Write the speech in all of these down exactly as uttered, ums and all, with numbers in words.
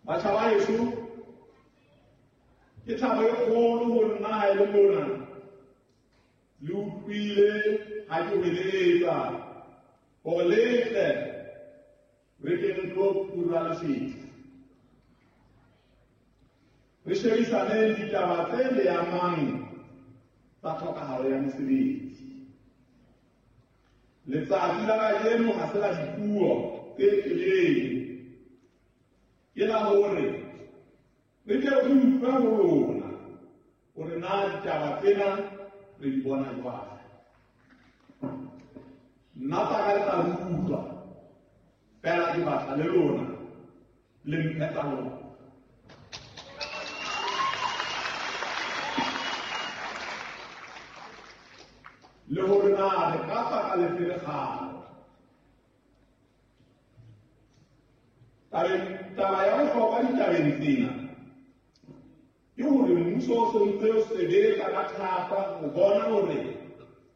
Batjha ba heso, ke thabo e kgolo ho nna ha e le mona le utlwile ha ke hweletsa hore le tle re ke re tlo pura lesedi. Re shebisaneng ditaba tse le amang tsa tlhokahalo ya mesebetsi. Letsatsi la kajeno ha se la dipuo tse telele, ke la hore re tle re utlwe ho lona hore na ditaba tsena re di bona jwang. Nna tsa ka le tla utlwa, fela ke batla le lona le mphe tsa lona. Le hore na re ka tswa ka lefe lekgalo. Taba ya bohlokwa ditabeng tsena ke hore mmuso o se ntse o sebetsa ka thata ho bona hore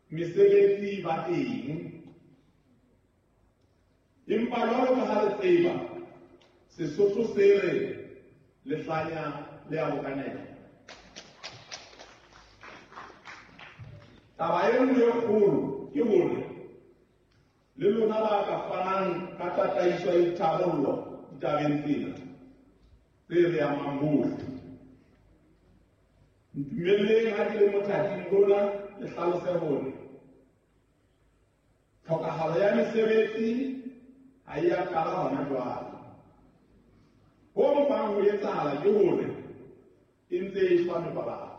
mesebetsi e ba teng. Empa jwalo ka ha re tseba, Sesotho se re lehlanya le a bokanela. Taba e nngwe e kgolo ke hore le lona ba ka fanang ka tataiso ya ditharollo ditabeng tsena tse re amang bohle. Ntumelleng ha ke le mothating lona le hlalose hore tlhokahalo ya mesebetsi ha e a qala hona jwale. Ho mpang ho etsahala ke hore e ntse e shwa mebalabala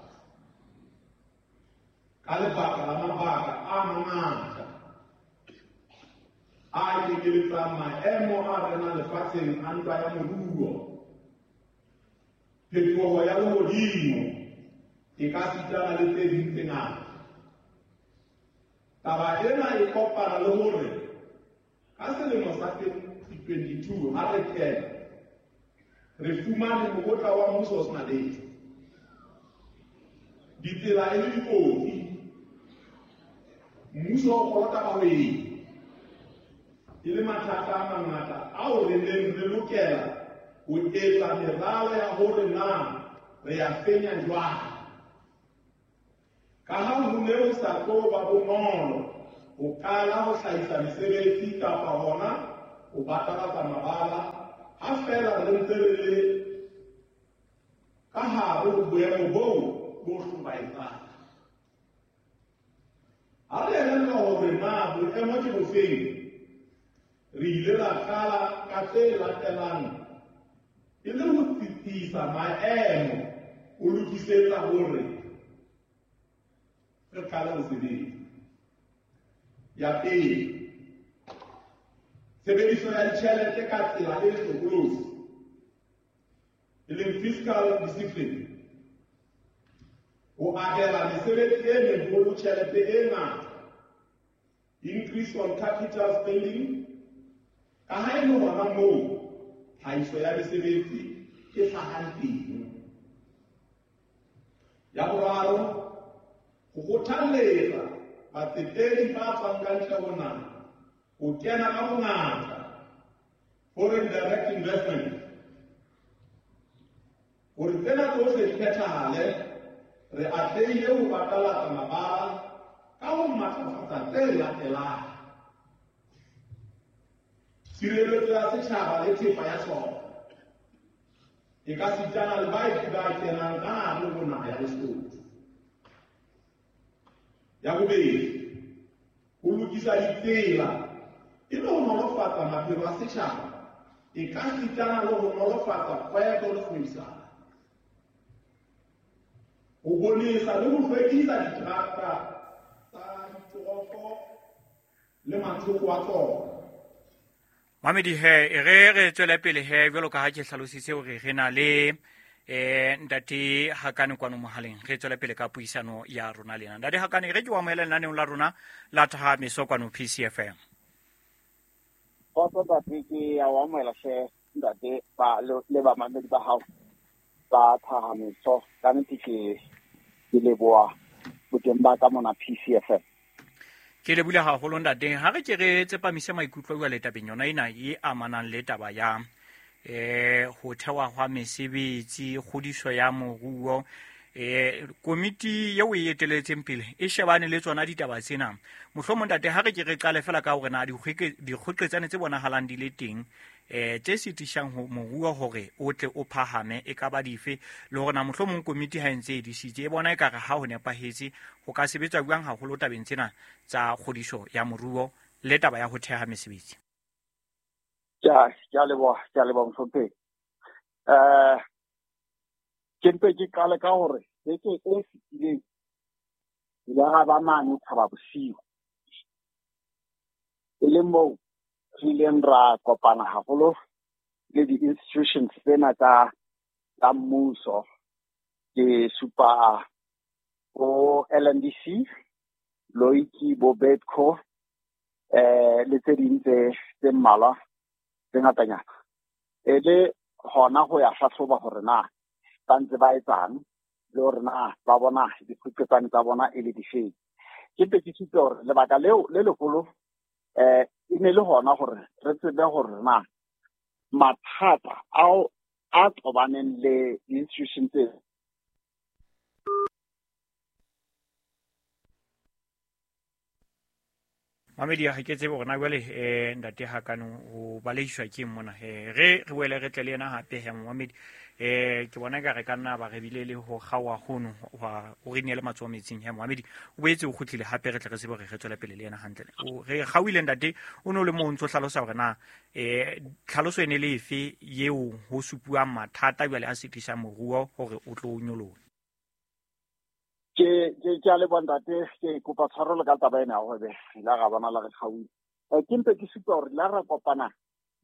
ka lebaka la mabaka a mangata a kenyeletsang maemo a renang lefatsheng a ntwa ya moruo, phetoho ya lehodimo e ka sitana le tse ding tse ngata. Taba ena e kopana le hore ka selemo sa twenty twenty-two ha re kena re fumane mokotla wa mmuso o sena letho, ditsela e le dikotsi, mmuso o kolota bahwebi, e le mathata a mangata ao re neng re lokela ho etsa meralo ya hore na re ya fenya jwang. Ka ha ho ne ho sa tlo ba bonolo ho qala ho hlahisa mesebetsi kapa hona ho batalatsa mabala ha feela re ntse re le ka hare ho boemo boo bo hlobaetsang. Ha re elellwa hore na boemo ke bofeng, re ile ra qala ka tse latelang e le ho tsitsisa maemo ho lokisetsa hore re qale ho sebetsa. Ya pele, tshebediso ya ditjhelete ka tsela e hlokolosi, e leng fiscal discipline, ho abela mesebetsi e meholo tjhelete e ngata, increase on capital spending, ka ha e le hona moo tlhahiso ya mesebetsi e hlahang teng. Ya boraro, ho kgothalletsa batsetedi ba tswang ka ntle ho naha ho kena ka bongata, foreign direct investment. Hore tsena tsohle di phethahale, re atlehile ho batalatsa mabala ka ho matlafatsa tse latelang: tshireletso ya setjhaba le thepa ya sona, e ka sitana le baeti ba kenang ka hare ho naha ya Lesotho. Ya bobedi, ho lokisa ditsela e le ho nolofatsa maphelo a setjhaba, e ka sitana le ho nolofatsa kgwebo le kgwebisano, ho bonesa le ho hlwekisa diterata tsa ditoropo le mathoko a tsona. Mamedi he, e re re tswele pele he, jwalo ka ha ke hlalositse hore re na le eh ntate Hakane kwano mohaleng. Re tswele pele ka puisano ya rona le yena. Ntate Hakane, re ke o amohele lenaneong la rona la Thahamiso kwano P C F M. Kgotso ntate, ke a o amohela hle ntate ba le bamamedi ba hao ba Thahamiso. Ka nnete ke ke leboha boteng ba ka mona P C F M. Ke lebohile haholo ntate. Ha re ke re tsepamise maikutlo jwale tabeng yona ena e amanang le taba ya eh ho thewa hwa mesebetsi, kgodiso ya moruo. Eh komiti eo e eteletseng pele e shebane le tsona ditaba tsena. Mohlomong ntate ha re ke re qale fela ka hore na dikgoqetsane tse bonahalang di le teng eh tse sitisang ho moruo hore o tle o phahame e ka ba dife, le hore na mohlomong komiti ha e ntse e disitse e bona e ka re ha ho nepahetse ho ka sebetswa jwang haholo tabeng tsena tsa kgodiso ya moruo le taba ya ho theha mesebetsi. Ja, ke a leboha, ke a leboha mohlomphehi. Eh ke mpe ke qale ka hore beke e fetileng ile ra ba mane Thaba Bosiu, e leng moo re ileng ra kopana haholo le di-institutions tsena tsa tsa mmuso. Ke supa bo L N D C, Loiki, bo Bedco, eh le tse ding tse tse mmalwa tse ngatanyana, e le hona ho ya hlahloba hore na ba ntse ba etsang le hore na ba bona dikgoqetsane tsa bona e le difeng. Ke mpe ke supe hore lebaka leo le leholo eh e ne le hona hore re tsebe hore na mathata ao a tobaneng le di-institution tse Mamedi, ha ke tsebe hore na jwale eh ntate Hakane o balehiswa ke mona. Eh re re boele re tle le yena hape he Mamedi. Eh ke bona ka re ka nna ba re bile le ho kgaoha hono wa o re neele matsoho metsing he Mamedi. O boetse o kgutlile hape re tle re tsebe hore re tswele pele le yena hantle. O re kgaohile ntate, o no le mo ntso hlalosa hore na eh tlhaloso e ne le efe eo ho supuang mathata jwale a sitisang moruo hore o tlo nyoloha. Ke ke ke a leboha ntate, ke kopa tshwarelo ka taba ena hore la ra bona la re kgaohile. Ke mpe ke supa hore la ra kopana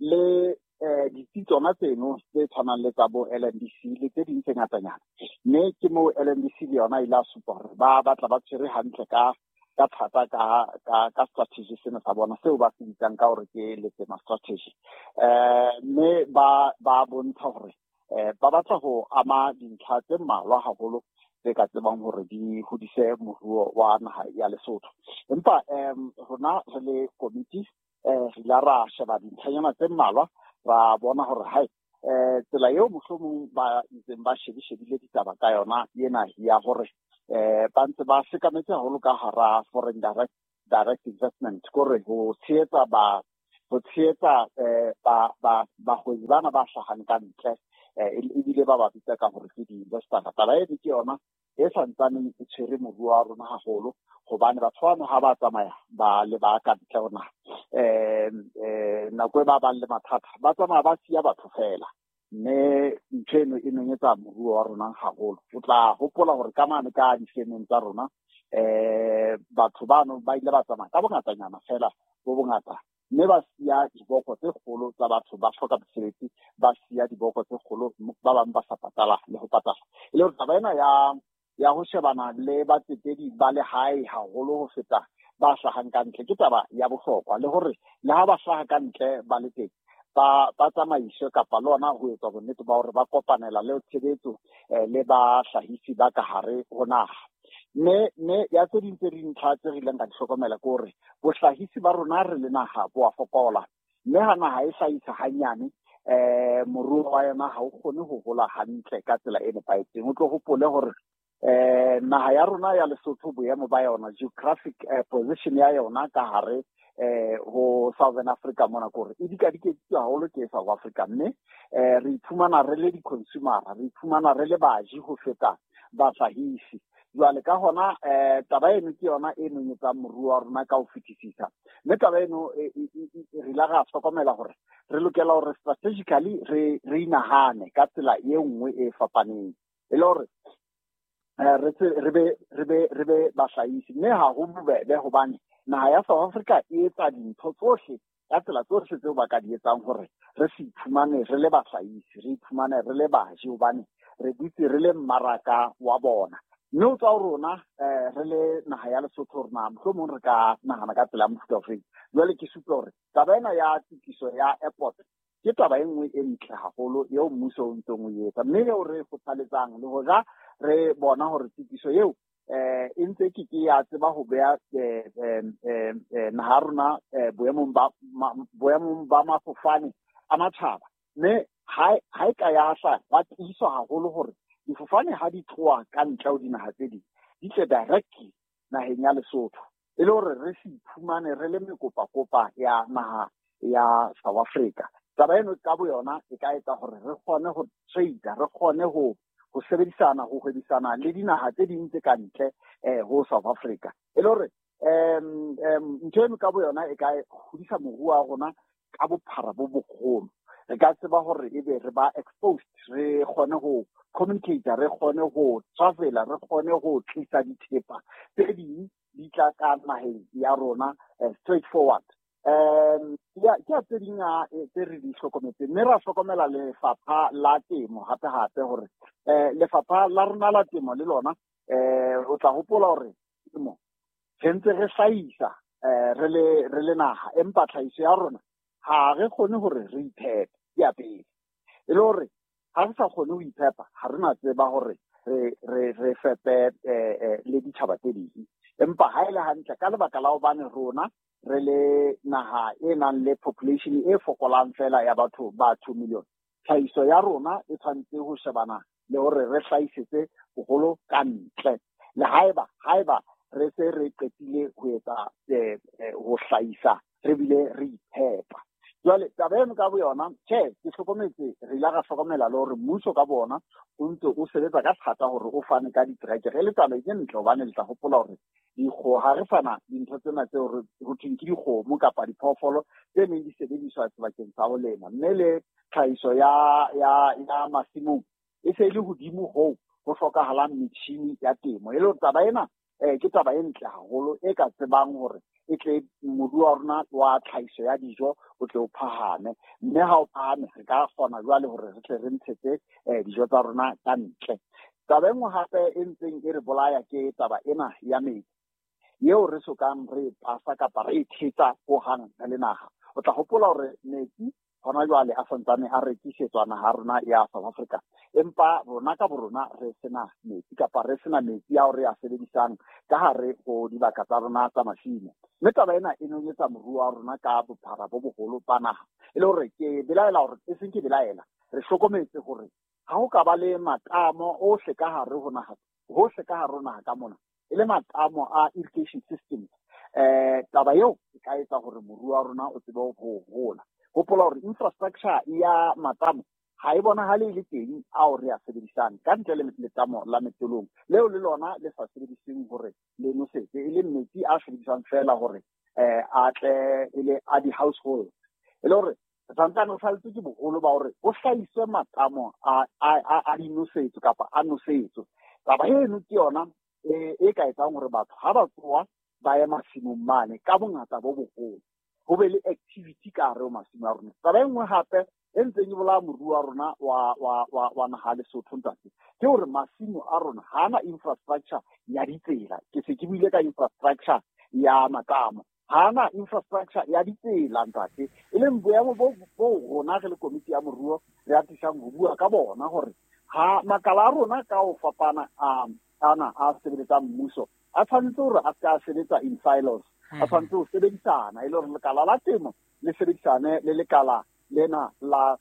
le eh ditsi tsona tseno tse tshwanang le tsa bo L N D C le tse ding tse ngatanyana. Mme ke moo L N D C le yona e la supa hore ba batla ba tshwere hantle ka ka thata ka ka ka strategy sena sa bona seo ba se bitsang ka hore ke Letsema strategy. Eh mme ba ba bontsha hore eh ba batla ho ama dintlha tse mmalwa haholo tse ka tsebang hore di hodise moruo wa naha ya Lesotho. Empa em rona re le komiti eh re la ra sheba dintlhanyana tse mmalwa, ra bona hore hai eh tsela eo mohlomong ba ntseng ba shebishebile ditaba ka yona ena ya hore eh ba ntse ba sekametse haholo ka hara foreign direct direct investment, kore ho tshehetsa ba ho tshehetsa eh ba ba bahwebi bana ba hlahang ka ntle, ebile ba ba bitsa ka hore ke di-investor. Taba eno ke yona e santsaneng e tshwere moruo wa rona haholo, hobane batho bano ha ba tsamaya ba le ba ka ntle ho naha, eh eh nako e ba bang le mathata ba tsamaya ba siya batho fela, mme ntho eno e nonyetsa moruo wa rona haholo. O tla hopola hore ka mane ka difemeng tsa rona eh batho bano ba ile ba tsamaya ka bongatanyana fela bo bongata, mme ba siya diboko tse kgolo tsa batho ba hloka mesebetsi, ba siya diboko tse kgolo ba bang ba sa patala le ho patala. E le hore taba ena ya ya ho shebana le batsetedi ba lehae haholo ho feta ba hlahang ka ntle ke taba ya bohlokwa, le hore le ha ba hlaha ka ntle ba le teng ba ba tsamaiswe kapa le ona ho etsa bonnete ba hore ba kopanela le tshebetso le bahlahisi ba ka hare ho naha. Mme mme ya tse ding tse dintlha tse re ileng ka di hlokomela ke hore bohlahisi ba rona re le naha bo a fokola, mme ha naha e hlahisa hanyane eh moruo wa yona ha o kgone ho hola hantle ka tsela e nepahetseng. O tlo hopole hore eh naha ya rona ya Lesotho boemo ba yona, geographic position ya yona ka hare eh ho Southern Africa mona, kore e dikadikeditswe haholo ke South Africa, mme eh re iphumana re le di-consumer, re iphumana re le baji ho feta bahlahisi. Jwale ka hona eh taba eno ke yona e nonyetsang moruo wa rona ka ho fetisisa, mme taba eno re la ra hlokomela hore re lokela hore strategically re re inahane ka tsela e nngwe e fapaneng, e le hore re re be re be re be bahlahisi. Mme ha ho bobebe hobane naha ya South Africa e etsa dintho tsohle ka tsela tsohle tseo ba ka di etsang hore re se iphumane re le bahlahisi, re iphumane re le baji, hobane re dutse re le mmaraka wa bona. Mme o tswa ho rona eh re le naha ya Lesotho rona mohlomong re ka nahana ka tsela ya mofuta ofeng. Jwale ke supe hore taba ena ya tokiso ya airport ke taba e nngwe e ntle haholo eo mmuso o ntseng o etsa, mme eo re kgothaletsang le hoja re bona hore tokiso eo eh e ntse ke ke ya tseba ho beha eh naha rona boemong ba boemong ba mafofane a matjhaba, mme ha ha e ka ya hla ba tiiswa haholo hore difofane ha di tloha ka ntle ho dinaha tse ding di tle directly naheng ya Lesotho, e le hore re se iphumane re le mekopakopa ya naha ya South Africa. Taba eno ka boyona e ka etsa hore re kgone ho trade, re kgone ho ho sebedisana, ho hwebisana le dinaha tse ding tse ka ntle eh ho South Africa. E le hore em em ntho eno ka boyona e ka hodisa moruo wa rona ka bophara bo boholo. Re ka tseba hore ebe re ba exposed, re kgone ho communicate, re kgone ho travel, re kgone ho tlisa dithepa tse ding di tla ka naheng ya rona straight forward. Um ya ke tse ding tse re di hlokometseng, mme ra hlokomela lefapha la temo hape hape hore eh lefapha la rona la temo le lona eh o tla hopola hore temo re ntse re hlahisa eh re le re le naha, empa tlhahiso ya rona ha re kgone hore re iphepe ya pele. E le hore ha re sa kgone ho iphepa, ha re na tseba hore re re re fepe le ditjhaba tse ding. Empa ha e le hantle ka lebaka la hobane rona re le naha e nang le population e fokolang fela ya batho ba two million, tlhahiso ya rona e tshwanetse ho shebana le hore re hlahisetse boholo ka ntle. Le haeba haeba re se re qetile ho etsa ho hlahisa, re bile re iphepa. Jwale taba eno ka boyona, tjhe, ke hlokometse, re ile ra hlokomela le hore mmuso ka bona o ntse o sebetsa ka thata hore o fane ka diterekere. E le taba e ntle hobane le tla hopola hore dikgoho ha re fana dintho tsena tseo re ho thweng ke dikgomo kapa diphoofolo tse neng di sebediswa sebakeng sa ho lema, mme le tlhahiso ya ya ya masimong e se e le hodimo hoo ho hlokahalang metjhini ya temo. E le hore taba ena eh ke taba e ntle haholo e ka tsebang hore e tle moruo wa rona wa tlhahiso ya dijo o tle o phahame, mme ha o phahame re ka kgona jwale hore re tle re ntshetse dijo tsa rona ka ntle. Taba e nngwe hape e ntseng e re bolaya ke taba ena ya metsi eo re sokang re pasa kapa re e thetsa hohang re le naha. O tla hopola hore metsi hona jwale a santsane a rekisetswa naha rona ya South Africa, empa rona ka borona re sena metsi kapa re sena metsi ao re a sebedisang ka hare ho dibaka tsa rona tsa masimo. Mme taba ena e nonyetsa moruo wa rona ka bophara bo boholo ba naha. E le hore ke belaela hore e seng ke belaela, re hlokometse hore ha ho ka ba le matamo ohle ka hare ho naha, hohle ka hare ho naha ka mona, e le matamo a irrigation systems, eh taba eo e ka etsa hore moruo wa rona o tsebe ho hola. Hopola hore infrastructure ya matamo ha e bonahale e le teng ao re a sebedisang ka ntle le letamo la Metolong, leo le lona le sa sebediseng hore le nosetse, e le metsi a sebediswang fela hore eh a tle e le a di-household. E le hore re santsane re saletswe ke boholo ba hore ho hlahiswe matamo a a a dinosetso kapa a nosetso. Taba eno ke yona e ka etsang hore batho ha ba tsoa ba ye masimong mane ka bongata bo boholo, ho be le activity ka hare ho masimo a rona. Taba e nngwe hape e ntseng e bolaya moruo wa rona wa wa wa wa naha Lesotho ntate, ke hore masimo a rona ha ana infrastructure ya ditsela. Ke se ke buile ka infrastructure ya matamo, ha ana infrastructure ya ditsela ntate, e leng boemo bo bo rona re le komiti ya moruo re atisang ho bua ka bona hore ha makala a rona ka ho fapana a ana a sebeletsang mmuso a tshwanetse hore a ska sebetsa in silos, a tshwanetse ho sebedisana, e le hore lekala la temo le sebedisane le lekala lena la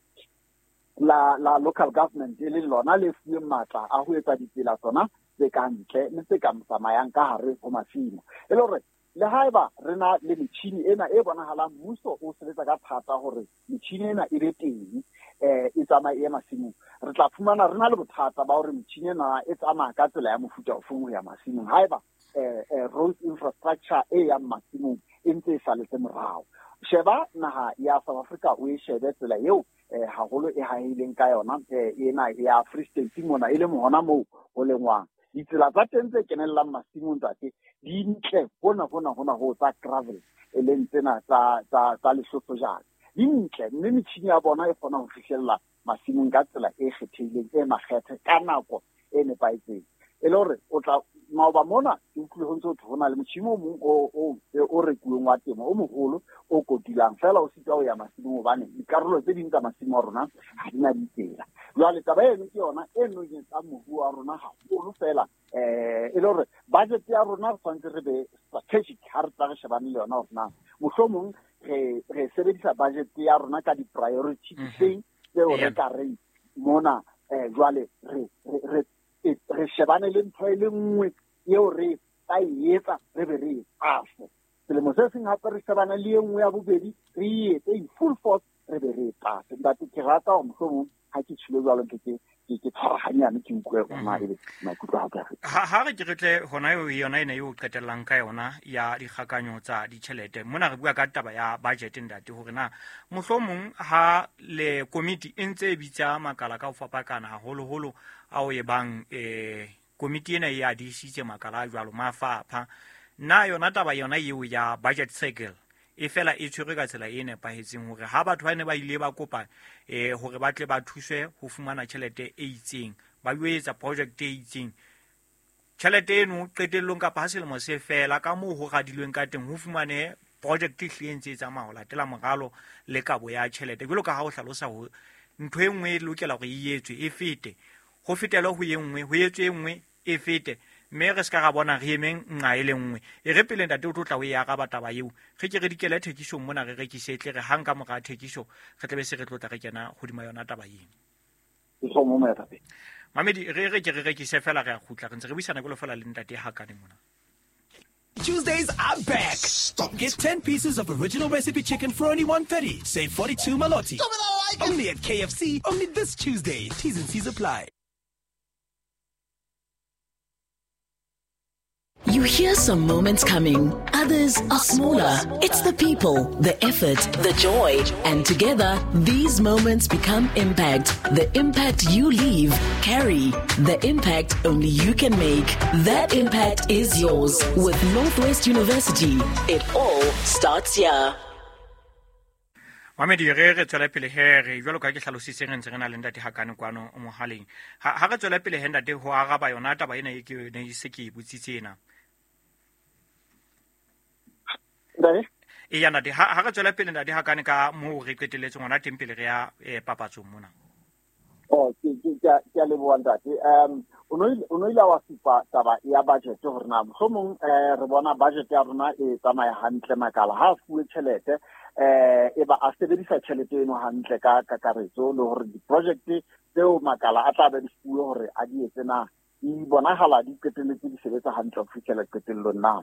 la la local government, e le lona le fuweng matla a ho etsa ditsela tsona tse ka ntle le tse ka tsamayang ka hare ho masimo. E le hore le haeba re na le metjhini ena e bonahalang mmuso o sebetsa ka thata hore metjhini ena e be teng eh e tsamaye e masimong, re tla fumana re na le bothata ba hore metjhini ena e tsamaya ka tsela ya mofuta ofeng ho ya masimong haeba eh road infrastructure e yang masimong e ntse e saletse morao. Sheba naha ya South Africa o e shebe tsela eo eh haholo e hahileng ka yona ena ya Free State mona, e le hona moo ho lengwang. Ditsela tsa teng tse kenellang masimong ntate di ntle hona hona hona ho tsa gravel, e leng tsena tsa tsa tsa Lesotho jana di ntle, mme metjhini ya bona e kgona ho fihlella masimong ka tsela e kgethehileng e makgethe ka nako e nepahetseng. E le hore o tla maoba mona ke utlwile ho ntse ho thwe ho na le motjhini o mong o o o rekuweng wa temo o moholo o kotulang, fela o sitwa ho ya masimong hobane dikarolo tse ding tsa masimo a rona ha di na ditsela. Jwale taba eno ke yona e nonyetsang moruo wa rona haholo fela, eh e le hore budget ya rona re tshwanetse re be strategic ha re tla re shebane le yona hore na mohlomong re re sebedisa budget ya rona ka di-priority difeng Tseo re ka reng mona eh jwale re re re shebane le ntho e le nngwe eo re ka e etsa re be re e pase. Selemo se seng hape re shebane le e nngwe ya bobedi re e etse in full force re be re e pase. Ntate ke rata hore mohlomong ha ke tshilo jwalo ke ke ke tshwara hanyane ke utlwe hore na ebe maikutlo a ka ha ha re ke re tle hona eo yona ena eo qetellang ka yona ya dikgakanyo tsa ditjhelete mona re bua ka taba ya budget ntate hore na mohlomong ha le komiti e ntse e bitsa makala ka ho fapakana haholoholo ao e bang eh komiti ena e a disitse makala a jwalo mafapha na yona taba yona eo ya budget cycle e fela e tshwerwe ka tsela e nepahetseng hore ha batho ba ne ba ile ba kopa eh hore ba tle ba thuswe ho fumana tjhelete e itseng ba yo etsa project e itseng tjhelete eno qetellong kapa ha selemo se fela ka moo ho radilweng ka teng ho fumane project e hlile ntse e tsamaya ho latela moralo le kabo ya tjhelete jwalo ka ha o hlalosa ho ntho e nngwe e lokela hore e etswe e fete ho fetele ho e nngwe ho etswe e nngwe e fete mme re ska ra bona re emeng nqa e le nngwe e re pele ntate o tlo tla o e araba taba eo re ke re dikele thekisong mona re rekise tle re hang ka mora thekiso re tlebe se re tlo tla re kena hodima yona taba eo. Mamedi re re ke re rekise fela re a kgutla re ntse re buisana ke lo fela le ntate Hakane mona. Tuesdays are back. Stop. Get ten pieces of original recipe chicken for only one thirty. Save forty-two maloti. Stop it, I like it. Only at K F C. Only this Tuesday. T's and C's apply. You hear some moments coming, others are smaller. It's the people, the effort, the joy, and together, these moments become impact. The impact you leave, carry. The impact only you can make. That impact is yours. With Northwest University, it all starts here. Mamedi re re tswela pele he re jwalo ka ke hlalositse re ntse re na le ntate Hakane kwano mohaleng ha ha re tswela pele he ntate ho araba yona taba ena e ke ne se ke e botsitse ena. Ntate e ya ntate ha re tswela pele ntate Hakane ka moo re qetelletseng hona teng pele re ya papatsong mona. Oh ke ke ke a leboha ntate. Um o no ile wa supa taba ya budget hore na mohlomong eh re bona budget ya rona e tsamaya hantle makala ha fuwe tjhelete eh e ba a sebedisa tjhelete eno hantle ka kakaretso le hore di-project tseo makala a tla be di fuwe hore a di etse na di bonahala di qetelletse di sebetsa hantle ho fihlela qetellong na.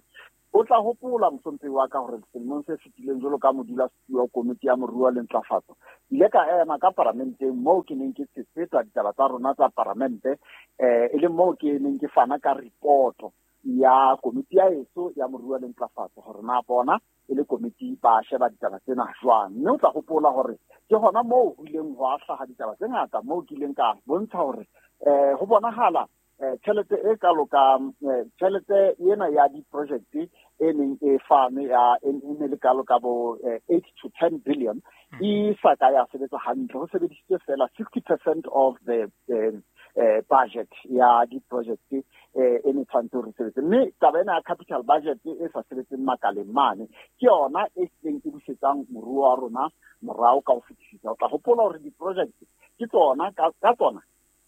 O tla hopola mohlomphehi wa ka hore selemong se fetileng jwalo ka modulasetulo wa komiti ya moruo le ntlafatso ile ka ema ka paramenteng moo ke neng ke tshetsa ditaba tsa rona tsa paramente eh e le moo ke neng ke fana ka reporto ya komiti ya eso ya moruo le ntlafatso hore na bona e le komiti ba sheba ditaba tsena jwang. Mme o tla hopola hore ke hona moo ho ileng ho hlaha ditaba tse ngata moo ke ileng ka bontsha hore eh ho bonahala tjhelete e kalo ka tjhelete ena ya di-project e neng e fane ya e ne le kalo ka bo eight to ten billion e sa ka ya sebetsa hantle ho sebedisitswe fela sixty percent of the uh, budget ya di-project e ne tshwanetse hore sebetse. Mme taba ena ya capital budget e sa sebetseng makaleng mane ke yona e seng e busetsang moruo wa rona morao ka ho fetisisa. O tla hopola hore di-project ke tsona ka tsona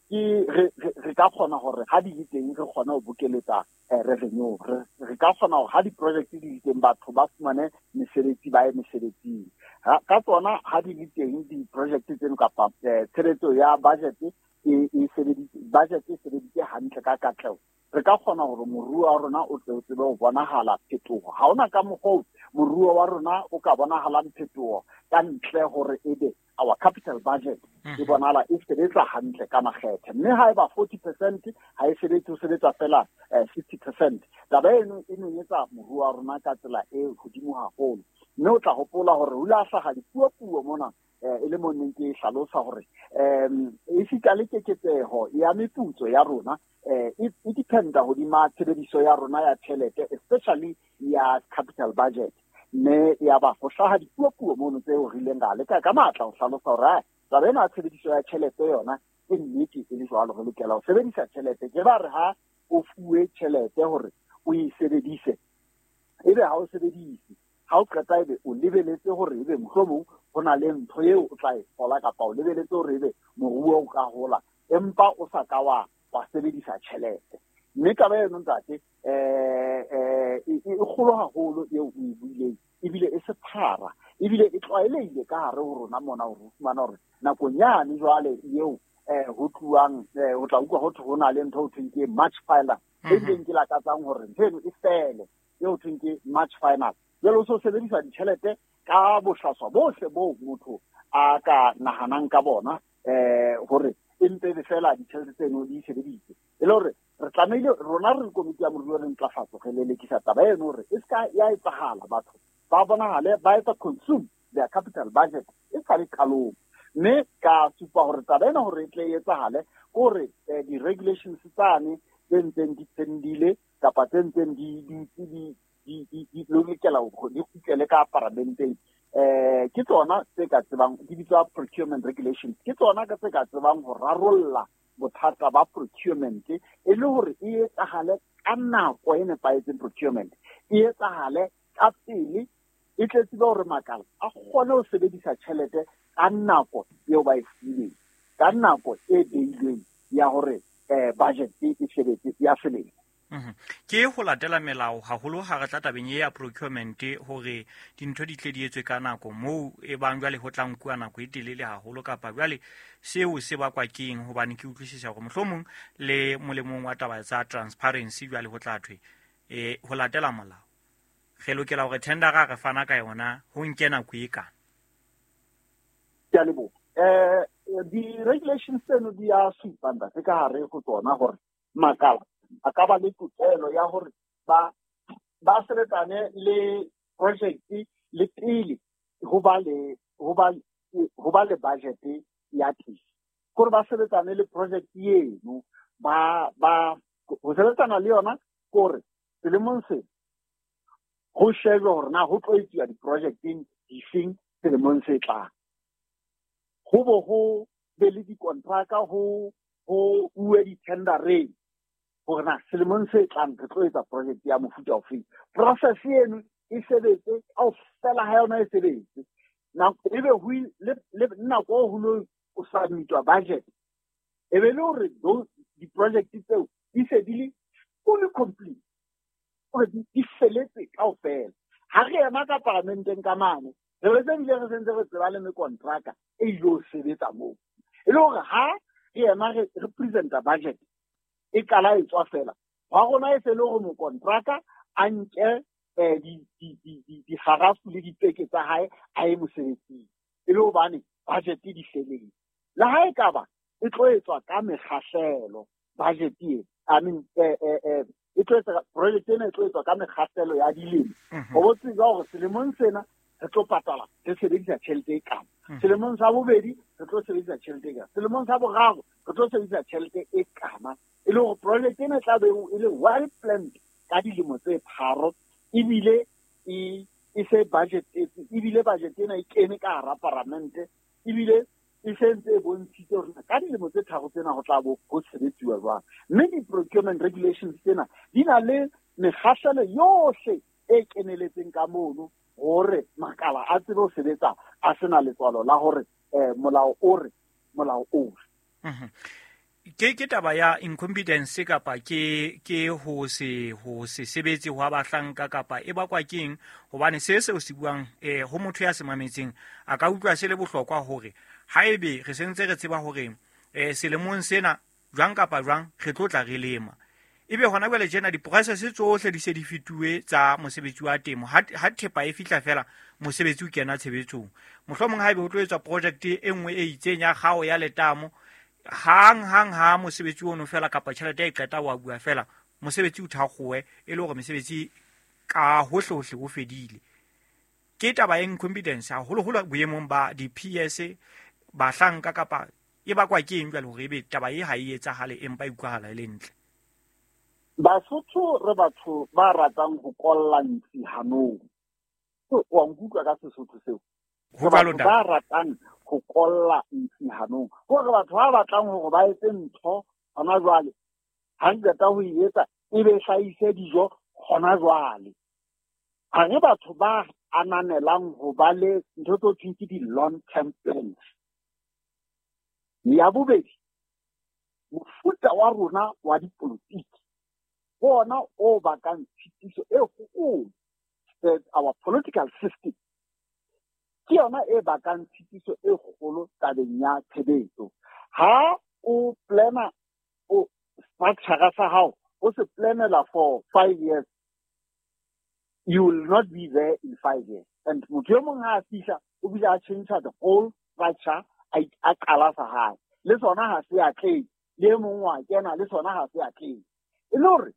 ke re re ka kgona hore ha di le teng re kgona ho bokeletsa revenue re ka kgona hore ha di-project di le teng batho ba fumane mesebetsi ba ye mesebetsing ka tsona ha di le teng di-project tseno kapa tshebetso ya budget e e sebeditse budget e sebeditse hantle ka katleho re ka kgona hore moruo wa rona o tle o tsebe ho bonahala phetoho. Ha hona ka mokgwa moruo wa rona o ka bonahalang phetoho ka ntle hore ebe our capital budget e bonahala e sebetsa hantle ka makgethe mme ha eba forty percent ha e sebetse ho sebetsa fela fifty percent taba eno e nonyetsa moruo wa rona ka tsela e hodimo haholo. Mme o tla hopola hore ho la hlaha dipuopuo mona e le mo neng ke hlalosa hore um esita le keketseho ya meputso ya rona eh e dependa hodima tshebediso ya rona ya tjhelete especially ya capital budget. Mme ya ba ho hlaha dipuopuo mono tseo re ileng ra leka ka matla ho hlalosa hore taba ena ya tshebediso ya tjhelete yona ke nnete e le jwalo re lokela ho sebedisa tjhelete. Ke ba re ha o fuwe tjhelete hore o e sebedise ebe ha o sebedise ha o qeta ebe o lebeletse hore ebe mohlomong ho na le ntho eo o tla e thola kapa o lebeletse hore ebe moruo o ka hola empa o sa ka wa wa sebedisa tjhelete. Mme taba eno ntate eh eh e kgolo haholo eo o e buileng ebile e sephara Ebile e tlwaelehile ka hare ho rona mona hore o fumana hore nakong yane jwale eo eh ho tluwang ho tla utlwa ho thwe ho na le ntho ho thweng ke March final, e bileng ke lakatsang hore ntho eno e fele, eo ho thweng ke March final. Jwale o so sebedisa ditjhelete ka bohlaswa bohle boo motho a ka nahanang ka bona eh hore e mpe be fela ditjhelete tseno di sebeditse. E le hore re tlamehile rona re komiti ya moruo re ntlafatso re lelekisa taba eno hore e ska ya etsahala, batho ba bonahale ba etsa consume their capital budget e sa le qalong. Mme ka supa hore taba ena hore e tle e etsahale ke hore di-regulations tsane tse ntseng di pendile kapa tse ntseng di di di di di lokela hore di kgutlele ka paramenteng, eh ke tsona tse ka tsebang di bitswa procurement regulations, ke tsona ka tse ka tsebang ho rarolla bothata ba procurement e le hore e etsahale ka nako e nepahetseng. Procurement e etsahale ka pele, e tle tsebe hore makala a kgone ho sebedisa tjhelete ka nako eo ba e fileng, ka nako e beilweng ya hore eh budget e sebetse ya selemo. Ke ho latela melao haholo ha re tla tabeng ya procurement hore dintho di tle di etswe ka nako moo e bang jwale ho tla nkuwa nako e telele haholo, kapa jwale seo se bakwa keng? Hobane ke utlwisisa hore mohlomong le molemong wa taba tsa transparency jwale ho tla thwe eh ho latela molao re lokela hore tendera re fana ka yona ho nke nako e kana. Ke a leboha. Eh di-regulations tseno di a supa ntate ka hare ho tsona hore makala a ka ba le tokelo ya hore ba ba sebetsane le project le pele ho ba le ho ba ho ba le budget ya teng, kore ba sebetsane le project eno, ba ba ho sebetsana le yona kore selemong se ho shejwe hore na ho tlo etsuwa di-projecteng difeng selemong se tlang, ho bo ho be le dikontraka, ho ho uwe di-tendereng hore na selemong se tlang re tlo etsa project ya mofuta ofeng. Process eno e sebetse kaofela ha yona e sebetse, ebe ho le nako ho lo o submitwa budget, e be le hore di-project tseo di se di le fully complete, hore di feletse kaofela. Ha re ema ka paramenteng ka mane, re be se bile re sentse re tseba le mekontraka e ilo sebetsa moo. E le hore ha re ema re presenta budget e qala e tswa fela, wa rona e se le hore mokontraka a nke dikgarafu le dipeke tsa hae a ye mosebetsing, e le hobane budget di feletse. Le ha e ka ba e tlo etswa ka mekgahlelo budget e, I mean eh eh e tlo etswa project ena e tlo etswa ka mekgahlelo ya dilemo, ho bo tseba hore selemong sena re tlo patala re sebedisa tjhelete e kana, selemong sa bobedi re tlo sebedisa tjhelete e kana, selemong sa boraro re tlo sebedisa tjhelete e kana. E le hore project ena e tla be e le well planned ka dilemo tse tharo, ebile e e se budget ebile budget ena e kene ka hara paramente, ebile e sentse e bontshitse hore ka dilemo tse tharo tsena ho tla bo ho sebetsiwa jwang. Mme di-procurement regulations tsena di na le mekgahlelo yohle e keneletseng ka mono hore makala a tsebe ho sebetsa a sena letswalo la hore eh molao o re molao o re. Ke ke taba ya incompetence kapa ke ke ho se ho se sebetse ho bahlanka kapa e bakwa keng? Hobane se seo se buang eh ho motho ya se mametseng a ka utlwa se le bohlokwa hore haebe re sentse re tseba hore eh selemong sena jwang kapa jwang re tlo tla re lema, ebe hona jwale tjena di-process tsohle di se di fetuwe tsa mosebetsi wa temo, ha ha thepa e fihla fela mosebetsi o kena tshebetsong. Mohlomong haebe ho tlo etswa project e nngwe e itseng ya kgao ya letamo, hang hang ha mosebetsi ono fela kapa tjhelete e qeta wa bua fela mosebetsi o thakgowe, e le hore mesebetsi ka hohle hohle ho fedile. Ke taba ya incompetence haholoholo boemong ba di-P S bahlanka kapa e bakwa ke eng jwale hore ebe taba e ha e etsahale empa e utlwahala e le ntle? Basotho re batho ba ratang ho kolla ntsi hanong. Wa nkutlwa ka Sesotho seo? Ho jwalo ntate. Ba ratang ho kolla ntsi hanong. Hore batho ba batlang hore ba etse ntho hona jwale, ha re qeta ho e etsa e be hlahise dijo hona jwale. Ha re batho ba ananelang ho ba le ntho tse thweng ke di-long term plans. Ya bobedi, mofuta wa rona wa dipolotiki bona o bakang tshitiso e kgolo. Our political system Ke yona e bakang tshitiso e kgolo tabeng ya tshebetso. Ha o plana o structure sa hao, o se planela for five years, you will not be there in five years. And motho e mong ha a fihla, o bile a change the whole structure, a qala sa hae. Le sona ha se atlehe, le e mong wa kena, le sona ha se atlehe. E le hore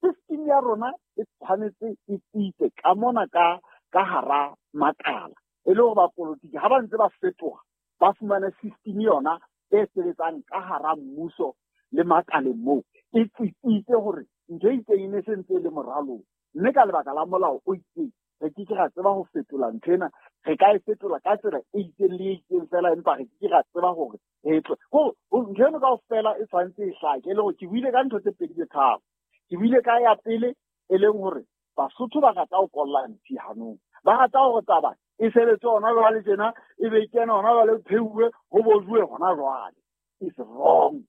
system ya rona e tshwanetse e tsitse ka mona ka ka hara makala. E le hore bapolotiki ha ba ntse ba fetoha, ba fumane system yona e sebetsang ka hara mmuso le makaleng moo. E tsitsitse hore ntho e itseng e ne se ntse e le moralong. Mme ka lebaka la molao o itseng, re ke ke ra tseba ho fetola ntho ena, re ka e fetola ka tsela e itseng le e itseng fela, empa re ke ke ra tseba hore re tlo. Ho, ntho eno kaofela e tshwanetse e hlake, e le hore ke buile ka ntho tse pedi tse tharo. Ke buile ka ya pele e leng hore Basotho ba rata ho kolla ntsi hanong. Ba rata hore taba e sebetse hona jwale tjena, e be e kena hona jwale, ho pheuwe, ho bojuwe hona jwale. It's wrong.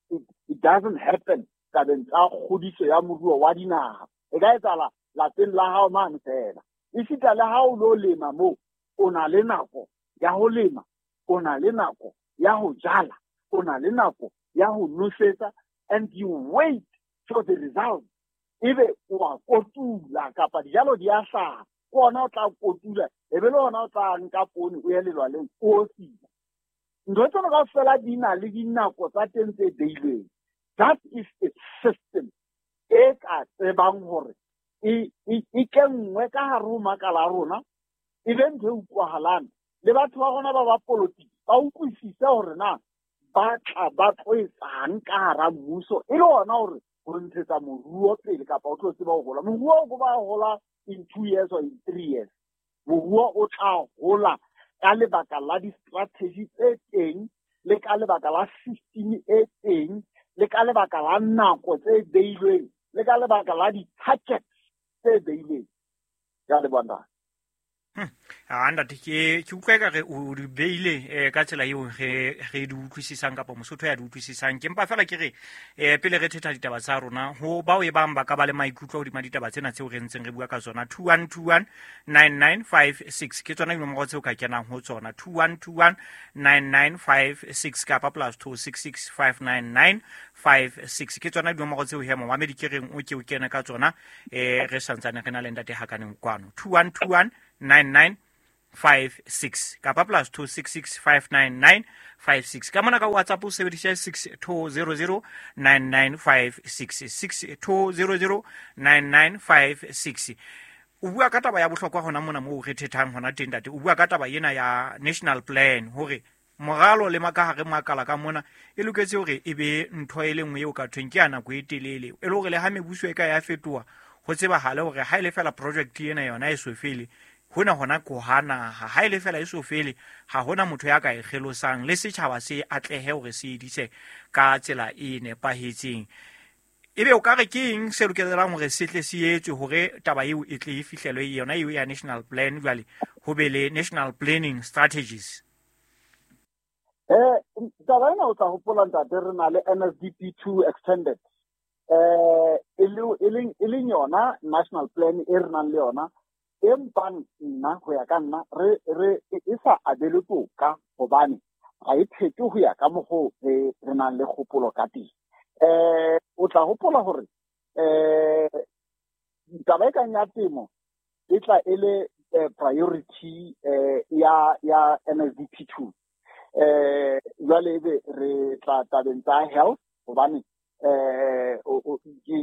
It, it doesn't happen tabeng tsa kgodiso ya moruo wa dinaha. E ka etsahala lapeng la hao mane fela. Esita le ha o lo lema moo, o na le nako ya ho lema, o na le nako ya ho jala, o na le nako ya ho nosetsa, and you wait for the result. Ebe o a kotula kapa dijalo di a hlaha, ke ona o tla kotula, ebe le ona o tla nka poone o ye lelwaleng o osila. Ntho tsena kaofela di na le dinako tsa teng tse beilweng. That is a system e ka tsebang hore e e kenngwe ka hare ho makala a rona, e be ntho e utlwahalang. Le batho ba rona ba ba politiki ba utlwisise hore na ba tla ba tlo etsang ka hara mmuso, e le hona hore ho ntshetsa moruo pele kapa o tlo tseba ho hola. Moruo o ba hola in two years or in three years. Moruo o tla hola ka lebaka la di-strategy tse teng, le ka lebaka la system e teng, le ka lebaka la nako tse beilweng, le ka lebaka la di-targets tse beilweng. Ke a leboha ntate. A ntate, ke ke utlwa ekare o di beile eh, ka tsela eo re re di utlwisisang kapa Mosotho ya di utlwisisang. Ke mpa fela ke re eh, pele re thetha ditaba tsa rona, ho bao e bang ba ka ba le maikutlo hodima ditaba tsena tseo re ntseng re bua ka tsona, two one two one nine nine five six ke tsona dinomoro tseo ka kenang ho tsona, two one two one nine nine five six kapa plus two six six five nine nine five six ke tsona dinomoro tseo he momamedi ke reng o ke o kene ka tsona, eh, re santsane re na le ntate Hakaneng kwano, two one two one nine nine five six kapa plus two six six five nine nine five six. Ka mona ka WhatsApp o sebedisa six two zero zero nine nine five six, six two zero zero nine nine five six. O bua ka taba ya bohlokwa hona mona moo re thethang hona teng ntate. O bua ka taba ena ya national plan hore moralo le makahare makala ka mona e loketse hore e be ntho e le nngwe eo ka thweng ke ya nako e telele, e le hore le ha mebuso e ka ya fetoha ho tsebahale hore ha e le fela project ena yona e so fele, hona hona ko hana ha ile fela e so fele, ha hona motho ya ka e kgelosang le setjhaba se atlehe hore se edise ka tsela e nepahetseng. Ebe o ka re ke eng se lokelang hore se tle se etswe hore taba eo e tle e fihlelwe yona eo ya national plan, jwale ho be le national planning strategies? Eh, taba ena o tla hopola ntate, re na le N S D P two extended, eh e leng e leng yona national plan e re nang le yona, empa nna ho ya ka nna re re e sa abelwe toka hobane ga e phete ho ya ka mokgo re re nang le kgopolo ka teng. Eh o tla hopola hore eh taba e kang ya temo e tla e le priority eh ya ya N S D P two. Eh jwale ebe re tla tabeng tsa health hobane eh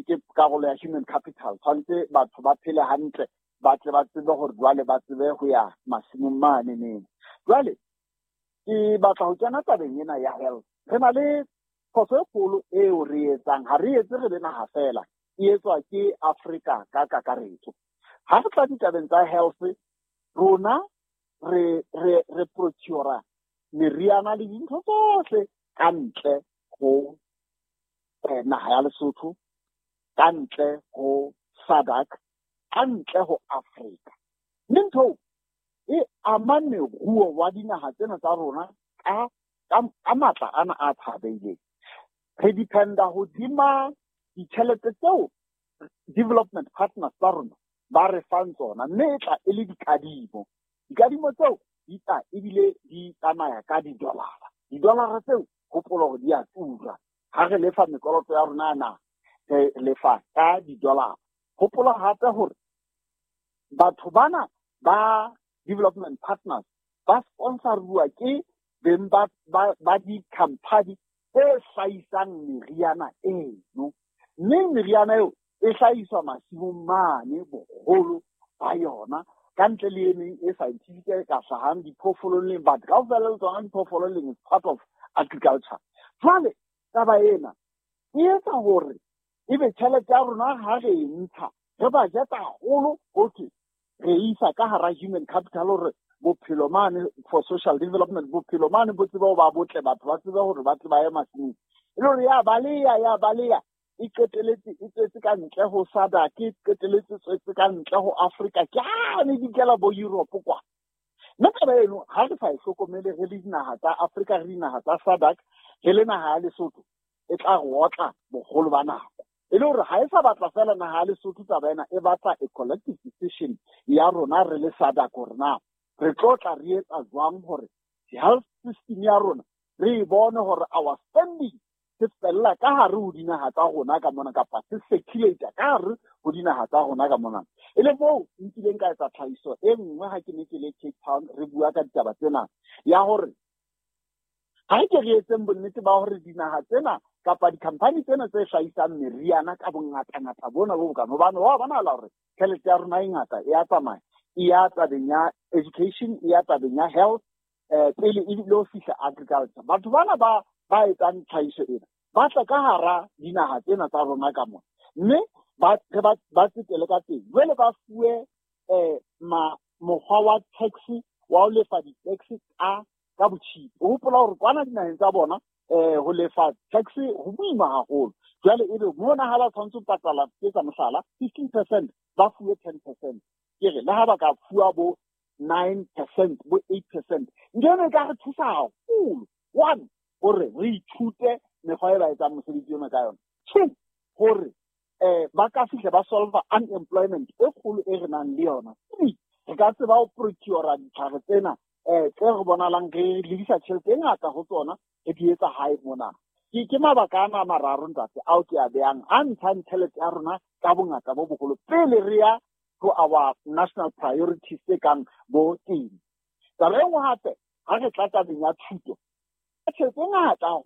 ke karolo ya human capital, tshwanetse batho ba phele hantle, ba tle ba tsebe hore jwale ba tsebe ho ya masimong mane neng. Jwale ke batla ho kena tabeng ena ya health. Re na le phoso e kgolo eo re etsang, ha re etse re le naha fela, e etswa ke Afrika ka kakaretso. Ha re tla ditabeng tsa health, rona re re re procure meriana le dintho tsohle ka ntle ho naha ya Lesotho, ka ntle ho S A D C, ka ntle ho Afrika. Mme ntho e ama moruo wa dinaha tsena tsa rona ka ka matla ana a tshabeileng. Re dependa hodima ditjhelete tseo development partners tsa rona ba re fang tsona, mme e tla e le dikadimo. Dikadimo tseo di tla ebile di tsamaya ka di-dollar. Di-dollar tseo hopola hore di a tura. Ha re lefa mekoloto ya rona na re lefa ka di-dollar. Hopola hape hore batho bana ba development partners ba sponsoruwa ke beng ba ba, ba di-company tse hlahisang meriana eno. Mme meriana eo e hlahiswa masimong mane boholo ba yona, ka ntle le e meng e scientific e ka hlahang diphoofolong leng, but kaofela le tsona diphoofolo leng is part of agriculture. Jwale taba ena e etsa hore ebe tjhelete ya rona ha re e ntsha re budget haholo, ho thwe re isa ka hara human capital hore bophelo mane for social development, bophelo mane bo tsebe ho ba botle, batho ba tsebe hore ba tle ba ye masimong. E le hore ya baleya, ya baleya, e qeteletse e tswetse ka ntle ho SADC, e qeteletse tswetse ka ntle ho Africa, ke hane di kela bo Europe kwa. Mme taba eno ha re sa e hlokomele re le dinaha tsa Africa, re dinaha tsa SADC, re le naha ya Lesotho, e tla re otla boholo ba nako. E le hore ha e sa batla fela naha ya Lesotho taba ena, e batla a collective decision ya rona re le SADC hore na re tlo tla re etsa jwang hore health system ya rona re e bone hore our spending se fella ka hare ho dinaha tsa rona ka mona, kapa se circulate ka hare ho dinaha tsa rona ka mona. E le moo nkileng ka etsa tlhahiso e nngwe ha ke ne ke le Cape Town re bua ka ditaba tsena, ya hore ha re ke re etseng bonnete ba hore dinaha tsena kapa di-company tsena tse hlahisang meriana ka bongatangata bona bo bokana, hobane wa bonahala hore tjhelete ya rona e ngata e ya tsamaya, e ya tabeng ya education, e ya tabeng ya health, eh, pele ebile ho fihla agriculture. Batho bana ba ba etsang tlhahiso ena ba tla ka hara dinaha tsena tsa rona ka mona, mme ba ba ba tsetele ka teng. Jwale ba fuwe eh ma mokgwa wa tax wa ho lefa di-tax ka ka botjhipi. O hopola hore kwana dinaheng tsa bona eh ho lefa tax ho boima haholo. Jwale ebe mona ha ba tshwanetse ho patala, ke etsa mohlala, fifteen percent, ba fuwe ten percent. Ke re le ha ba ka fuwa bo nine percent, bo eight percent, ntho eno e ka re thusa haholo. One, hore re ithute mekgwa e ba etsang mosebetsi ona ka yona. Two, hore eh ba ka fihla ba solve unemployment e kgolo e re nang le yona. Three, re ka tseba ho procure ditlhare tsena eh tse re bonahalang re lebisa tjhelete e ngata ho tsona, re di etsa hae mona. Ke ke mabaka ana a mararo ntate ao ke a behang a ntshang tjhelete ya rona ka bongata bo boholo pele re ya to our national priorities tse kang bo temo. Taba e nngwe hape, ha re tla tabeng ya thuto, tjhelete e ngata